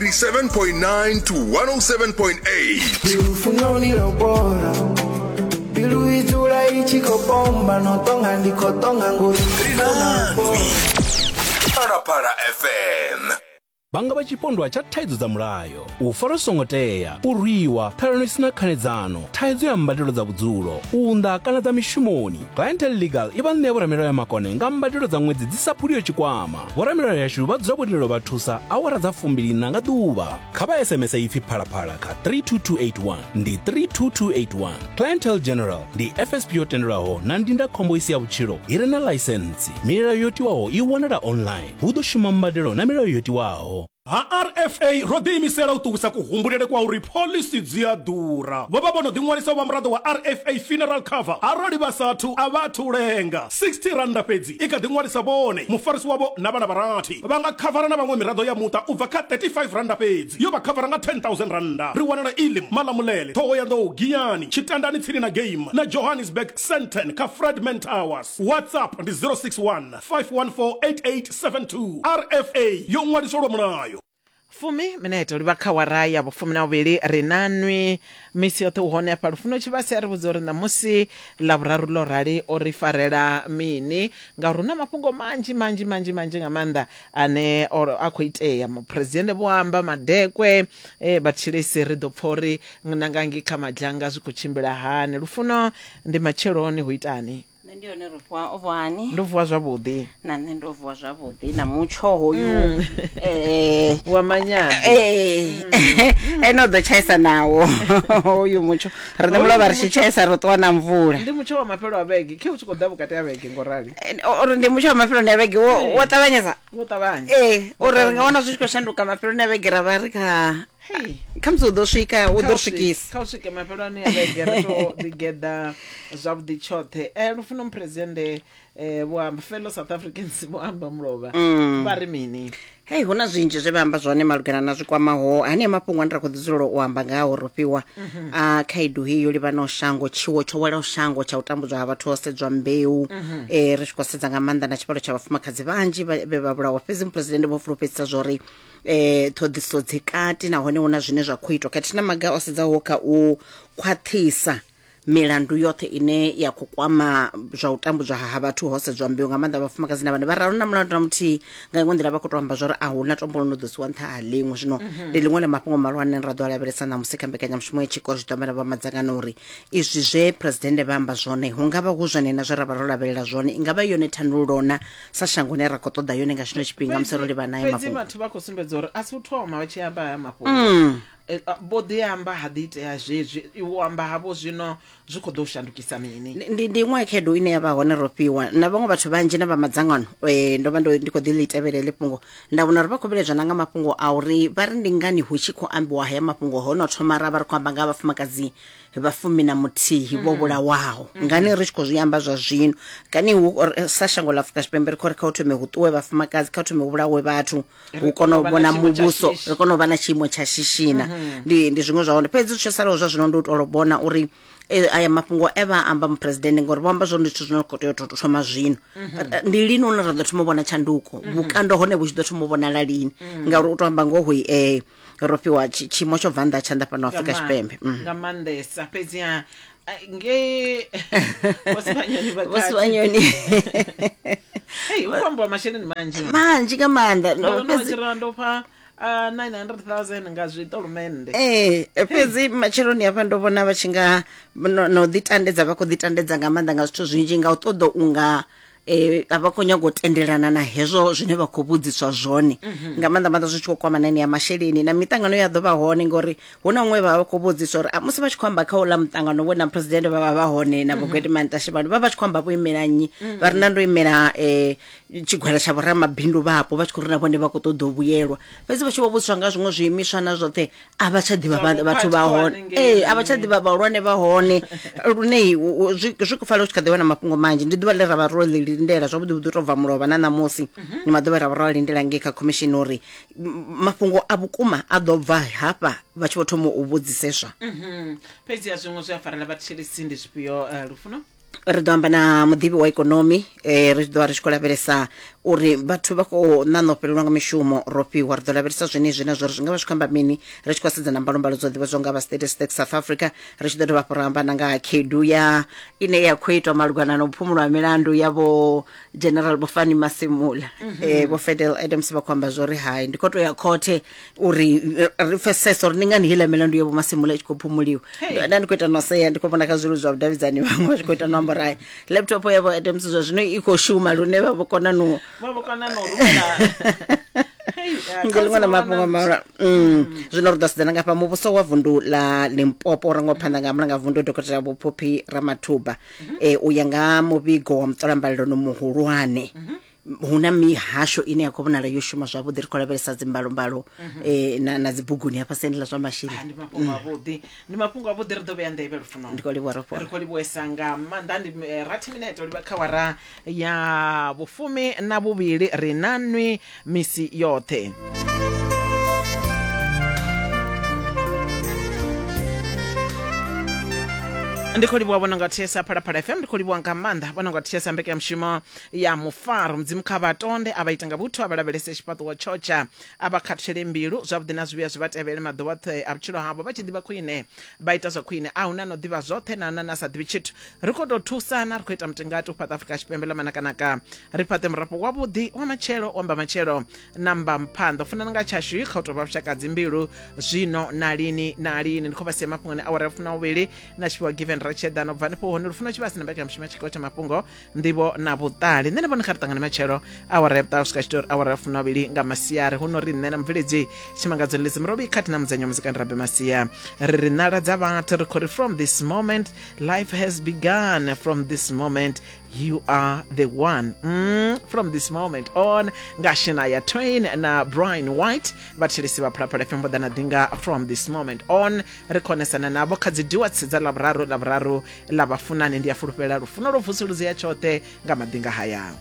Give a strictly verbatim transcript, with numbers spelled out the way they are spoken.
eighty-seven point nine to one oh seven point eight. Lufunoni lobora Bilu izula ichikopomba notonga ndikotonga nguri Phalaphala F M. Vha nga vha tshipondwa tsha thaidzo dza mulayo, u farwa songo tea, u rwiwa, ṱhalano i sina khanedzano, thaidzo ya mbadelo dza vhudzulo, u unḓa kana dza mishumoni. Clientele Legal i vha ṋea vhoramilayo ya makone nga mbadelo dza ṅwedzi dzi sa phuliho tshikwama. Vhoramilayo yashu vha dzula vho lindela u vha thusa awara dza fumbiliṋa nga ḓuvha. Kha vha S M S ipfi Phalaphala kha three two two eight one, ndi three two two eight one. Clientele General ndi F S P yo tendelwaho na ndindakhombo i si ya vhutshilo i re na ḽaisentsi. Milayo yo tiwaho i wanala online. Hu ḓo shuma mbadelo na milayo yo tiwaho. Ha R F A ro ḓiimisela u ṱuwisa kuhumbulele kwa uri phoḽisi dzi a ḓura. Vho vha vho no ḓiṅwalisa u vha muraḓo wa R F A funeral cover arali vha sathu a vha athu lenga. sixty randa fhedzi i kha ḓiṅwalisa vhone, mufarisi wavho na vhana vha rathi. Vha nga khavara na vhaṅwe miraḓo ya muṱa u bva kha thirty-five randa fhedzi, yo vha khavara nga ten thousand randa. Ri wanala Elim, Malamulele, Thohoyandou, Giyani, Tshitandani tsini na Game na Johannesburg Sandton kha Fredman Towers. WhatsApp ndi zero six one, five one four, eight eight seven two. R F A yo ṅwaliswa lwa mulayo. Fumi minete livha kha wara ya vhufumi na vhuvhili ri na nwi misi yoṱhe u hone afha Lufuno Tshivhase a ri vhudza uri ṋamusi ḽavhuraru ḽo rali o ri farela mini, ngauri hu na mafhungo manzhi manzhi manzhi manzhi nga maanḓa ane a khou itea. Muphuresidennde vho amba madekwe, eh, vhathetshelesi ri ḓo pfha uri nanga ngei kha madzhanga zwi khou tshimbila hani. Lufuno, ndi matsheloni hu itani? Nṋe ndi hone ro vuwa o vuwani? Ndo vuwa zwavhuḓi. Na nṋe ndo vuwa zwavhuḓi na mutsho hoyu eh wa manyana. Eh eno ḓo tshaisa nawo hoyu mutsho. Riṋe mulovha ri tshi tshaisa ro ṱuwa na mvula. Ndi mutsho wa mafhelo a vhege, khe u tshi khou ḓa vhukati ha vhege ngorali. Uri ndi mutsho wa mafhelo a vhege wo wo ṱavhanyesa. Wo ṱavhanya. Eh uri ri nga wana zwi tshi khou shanduka mafhelo a vhege ra vha ri kha Hey. Khamusi u ḓo swika u ḓo swikisa. Kha u swike mafheloni a vhege ri to ḓigeḓa zwavhuḓi tshoṱhe. Eh Lufuno, muphuresidennde eh vho amba, fellow South Africans vho amba mulovha. Vha ri mini? Hey, huna zwinzhi zwe vha amba zwone malugana na zwikwamaho hanea mafhungo ane ra khou ḓi dzulela u amba ngaho ro fhiwa a khaedu heyi yo livhanaho shango, tshiwo tsho welaho shango tsha u tambudzwa ha vhathu ho sedzwa mbeu. Eh ri tshi khou sedza nga maanḓa na tshivhalo tsha vhafumakadzi vhanzhi vhe vha vhulawa. Fhedzi muphuresidennde vho fulufhedzisa zwori eh ṱhoḓisiso dzi kati nahone huna zwine zwa khou itwa khathihi na maga o sedzaho kha u khwaṱhisa milandu yoṱhe ine ya khou kwama zwa u tambudzwa ha vhathu ho sedzwa mbeu, nga maanḓa vhafumakadzi na vhana vha raru na mulandu na muthihi. Nga iṅwe nḓila vha khou tou amba zwori a huna tombo ḽo no ḓo siwa nṱha ha ḽiṅwe. Zwino ndi ḽiṅwe ḽa mafhungo mahulwane ra ḓo a lavhelesa ṋamusi kha mbekanyamushumo ya tshikolo. Zwi ḓo amba na vha madzangano uri izwi zwe phuresidennde vha amba zwone hu nga vha hu zwone na zwe ra vha ro lavhelela zwone, i nga vha yone thandululo na sa shango ine ra khou ṱoḓa yone nga tshino tshifhinga musi ro livhana nayo Fhedzi mafhungo. vhathu vha khou sumbedza uri a si u thoma vha tshi amba haya mafhungo. Vho ḓi amba ha ḓi itea zwezwi, u amba havho zwino zwi khou ḓo shandukisa mini? Ndi ndi iṅwe khaedu ine ya vha hone ro fhiwa na vhaṅwe vhathu vhanzhi na vha madzangano. Eh ndo vha ndo ndi khou ḓi ḽi tevhela heḽi fhungo, nda vhona uri vha khou vhiledzwa na nga mafhungo a uri vha ri ndi ngani hu tshi khou ambiwa haya mafhungo ho no thoma ra vha ri khou amba nga vhafumakadzi vha fumi na muthihi vho vhulawaho, ngani ri tshi khou zwi amba zwa zwino? Kani hu sa shango ḽa Afrika Tshipembe ri khou ri kha u thome hu ṱuwe vhafumakadzi, kha u thome hu vhulawe vhathu, hu kone u vhona muvhuso, ri kone u vha na tshiimo tsha shishina. Ndi ndi zwiṅwe zwa hone. Fhedzi zwi salaho zwa zwino ndi u tou vhona uri aya mafhungo e vha amba muphuresidennde, ngori vho amba zwone ndi zwithu zwine khou tea u thoma zwino. Ndi lini hune ra ḓo thoma u vhona tshanduko, vhukando hone vhu tshi ḓo thoma u vhonala lini? Ngauri u tou amba ngoho eh ro fhiwa tshiimo tsho bva nnḓa tshanḓa fhano Afrika Tshipembe. Nga maanḓesa. Fhedzi nge Vho Vho Sibanyoni hey hu khou ambiwa masheleni manzhi manzhi nga maanḓa. Fhedzi ndo pfa Uh, nine hundred thousand nga zwiṱolumende. Eh fhedzi matsheloni hafha ndo vhona vha tshi nga no ḓi tandedza, vha khou ḓi tandedza nga maanḓa nga zwithu zwinzhi nga u ṱoḓa unga eh a vha khou nyaga u tendelana na hezwo zwine vha khou vhudziswa zwone, nga maanḓa maanḓa zwi tshi khou kwama na ya masheleni na miṱangano ya ḓo vha hone, ngori hu na huṅwe vha vha khou vhudziswa uri musi vha tshi khou amba kha uḽa muṱangano we na president vha vha vha hone na Vho Gwede Mantashe vha vha tshi khou amba vho imela nnyi, vha ri na ndo imela eh tshigwada tsha vhoramabindu vhapo, vha tshi khou ri na vhone vha khou ṱoḓa u vhuyelwa. Fhedzi vha tshi vho vhudziswa nga zwiṅwe zwiimiswa na zwoṱhe a vha tsha ḓivha vhathu vha hone, eh a vha tsha ḓivha vhahulwane vha hone, lune zwi khou fanela u tshi kha ḓi vha na mafhungo manzhi. Ndi ḓuvha ḽe ra vha ro ḽi lindela zwavhuḓi vhuḓi u tou bva mulovha na ṋamusi, ndi maḓuvha ra vha ro a lindela ngei kha khomishini uri mafhungo a vhukuma a ḓo bva hafha vha tshi vho thoma u vhudziseswa. Fhedzi ya zwiṅwe zwi a farela vhathetshelesi ndi zwifhio, Lufuno? Ri ḓo amba na muḓivhi wa ikonomi, eh, ri ḓo vha ri tshi khou lavhelesa uri vhathu vha khou ṋaṋa u fhelelwa nga mishumo Rofhiwa. Ri ḓo lavhelesa zwenezwi na zwori zwi nga vha zwi khou amba mini, ri tshi khou sedza na mbalombalo dzo ḓivhadzwaho nga vha Statistics South Africa. Ri tshi ḓo dovha hafhu ra amba na nga khaedu ya ine ya khou itwa malugana na u phumulwa ha milandu ya vho General Vho Fani Masimula. Eh, vho Fidel Adams vha khou amba zwori hai, ndi khou tou ya khothe uri eh, ri pfesese uri ndi ngani heiḽa milandu ya vho Masimula i tshi khou phumuliwa. Hey. Nda ndi khou ita no sea, ndi khou vhona kha zwileludzi zwa vhudavhidzani vhaṅwe vha tshi khou ita no amba uri hai, laptop ya vho Adams zwa zwino i khou shuma lune vha vho kona no Vha vho kona no rumela. Hey, eh, ngo ḽiṅwe ḽa council mafhungo wana- mahulwane. Mm. Zwino ri ḓo sedzana ngafha muvhuso wa vundu ḽa Limpopo u rangwa phanḓa nga mulanga vundu Dokotela Vho Phophi Ramathuba. Eh, u ya nga muvhigo wa muṱolambalelo muhulwane, hu na mihasho ine ya khou vhonala yo shuma zwavhuḓi. Ri khou lavhelesa dzimbalombalo eh, na, na dzibuguni hafha siani ḽa zwa Ah, masheleni. ndi mafhungo avhuḓi, ndi mafhungo avhuḓi. Ri ḓo vhea nḓevhe Lufuno. Ndi khou livhuwa Rofhiwa. Ri khou livhuwesa nga maanḓa. Ndi eh, rathi minete u livha kha wara ya vhufumi na vhuvhili. Ri na nwi misi yoṱhe. Ndi khou livhuwa vhona nga thesa Phalaphala F M. Ndi khou livhuwa nga maanḓa vhona nga thesa mbekanyamushumo ya mufaro. Mudzimu kha vha tonde, a vha ita nga vhuthu, a vha lavhelese tshifhaṱuwo tshotsha, a vha khathutshele mbilu. Zwavhuḓi na zwivhuya zwi vha tevhele maḓuvha oṱhe a vhutshilo havho. Vha tshi ḓivha khwine vha ita zwa khwine, a huna no ḓivha zwoṱhe na na na sa ḓivhi tshithu. Ri khou tou thusana, ri khou ita mutingati u fhaṱa Afrika Tshipembe ḽa manakanaka, ri fhaṱe murafho wavhuḓi wa matshelo, wa mbamatshelo na mbamphanḓa. U funana nga tshashu kha u tou vha vhushaka dzimbilu zwino na lini na lini. Ndi khou vha sia mafhungoni awara ya funa vhuvhili na tshifhiwa Given Ratshedano. Bva hanefho hone Lufuno Tshivhase na mbekanyamushumo ya tshikolo tsha mafhungo, nḓivho na vhuṱali. Nṋe na vhone kha ri ṱangane matshelo awara ya vhuṱahe u swika tshitori awara ya funa vhuvhili nga masiari. Hu no ri nṋe na mubveledzi Tshimangadzo Lizzy Murovhi khathihi na mudzanyi wa muzika ndi Rabe Masia, ri ri ṋala dza vhathu, ri khou ri from this moment life has begun, from this moment you are the one. Mm, from this moment on nga Shania Twain na Brian White. Vhathetshelesi vha Phalaphala F M vho ḓa na ḓinga from this moment on. Ri khonesana navho kha dzi duets dza lavhuraru lavhuraru ḽa vhafunani. Ndi a fulufhela lufuno lwo vusuluzea tshoṱhe nga maḓinga haya.